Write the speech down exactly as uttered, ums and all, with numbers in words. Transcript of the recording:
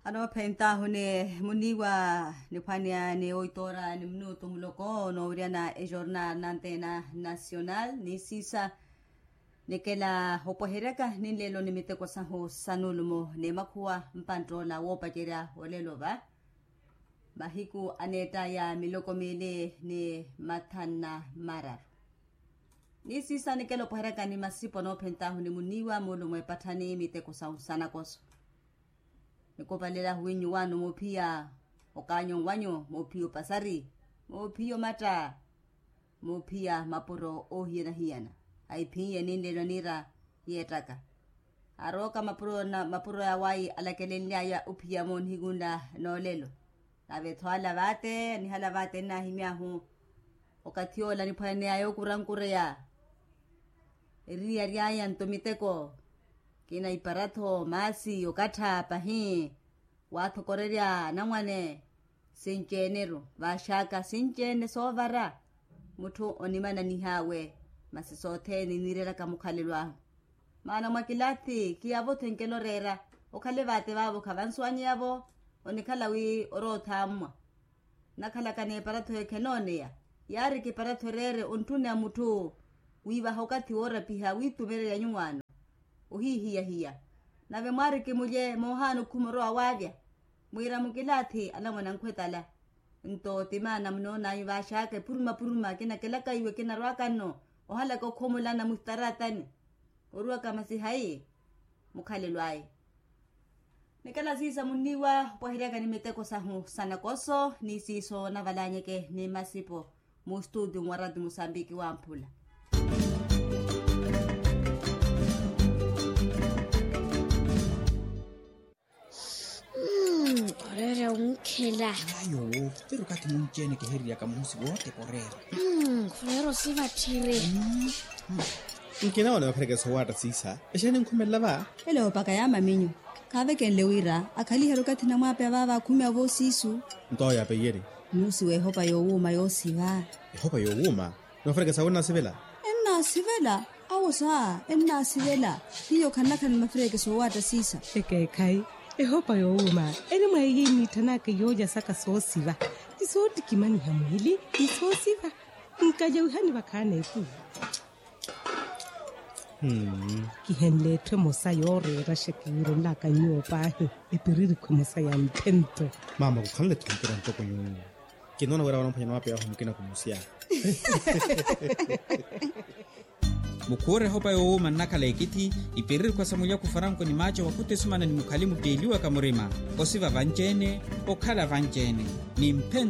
Anoophentaahu ni muniiwa niphwaneya ni oitoora ni minutu muloko onoowiryana ejornal nanteena nasional ni siisa. Nikela opweheryaka ninleelo ni miteko sahu sa nulumo ni makhuwa mpanttoola woopacerya olelo va mahiku aneettaya miloko miili ni mathanna mararu. Ni siisa nikela opweheryaka ni masipo anoophentaahu ni muniiwa muulumo epatthani miteko sahu sa nakoso. Nikopalelahu winyuwaano moophiya okaanyo wanyu moophiya opasari moophiya omatta moophiya mapuro oohiyana-hiyana. Ahiphiye ninleelo niira yeettaka arooka mapuro ya wayi alakelenly'aya ophiya-mo nihiku nla noolelo. Nave-tho ala vaate anihala vaate nnahimy'ahu okathi ola niphwaney'aya okurankureya eriyari aya nto miteko. Kina ipara-tho maasi okattha pahi waathokorerya anamwane. Sinci-ene-ru vaaxaka sinci-ene soovara mutthu onimananih'awe. Masi sothene eniirelaka mukhalelo ahu maana mwa kilathi kiyavo-tho enkela oreera. Okhale vaate vaavo khavansuwanyeyavo onikhala wi oroothammwa. Nnakhalaka n'epara-tho ekhenooneya yaari kipara-tho ereere onttuneya mutthu wiivaha okathi woorapiha wiitumererya nyuwaano ohihiyahiya. Nave mwaari kimulye moohaana okhuma orowa waavya mwiira mukilaathi anamwane ankhwetala. Nto ti maana munoon'anyu vaaxaka epuruma-puruma kinakelaka iwe kinarwaka nno ohalaka okhomolana muhitaratani oruwaka masi hayi mukhalelo aya. Nikela siisa muniiwa opweheryaka ni miteko sahu sa nakoso ni siiso navalanyeke ni masipo. Mu studio mwa rati musambiki wamphula. Oreera onkhela. Ayo. Pero kathi munci-ene kihiririyaka muhusi wote koreera. Koreera osivatthire. Nkina wane mapherekesa owaatta siisa exeeni nkhumelela va. Ele opaka ya maminyu kaavekenle wira akhaliherye okathi namwaapeya vaava akhumeya voosiisu. Nto oyo apeiyerye. Nuusiwa ehopa yoowuuma yoosiva. Ehopa yoowuuma? Ni mafureke sawe ennaasivela? Ennaasivela. Awo saa ennaasivela. Hiyo khannakhala ni mafureke soowaatta siisa. Ekeekhayi. Ehopa yoowuuma eri mwa iyo iniitthanaaka yoolya saka soosiva ni soottikimaniha mwiili ni soosiva. Nkalyawihani vakhaana ekulu. Kihenle etthu emosa yooreera xekiwiirenlaka nyuwo paahi. Epiririkhu emosa ya ntthento. Maama kukhanle etthu mpira ntoko nyuwo. Kinoona wira wanoomphwanya nwaapeya ahu mukina kumusiya. Mukhuure ehopa yoowuuma nnakhala ekithi. Ipiririkhu esa mulyaku faranko ni maaco wakhuta esumana ni mukhali mutteeliwaka murima. Osiva vanci-ene okhala vanci-ene ni mphento.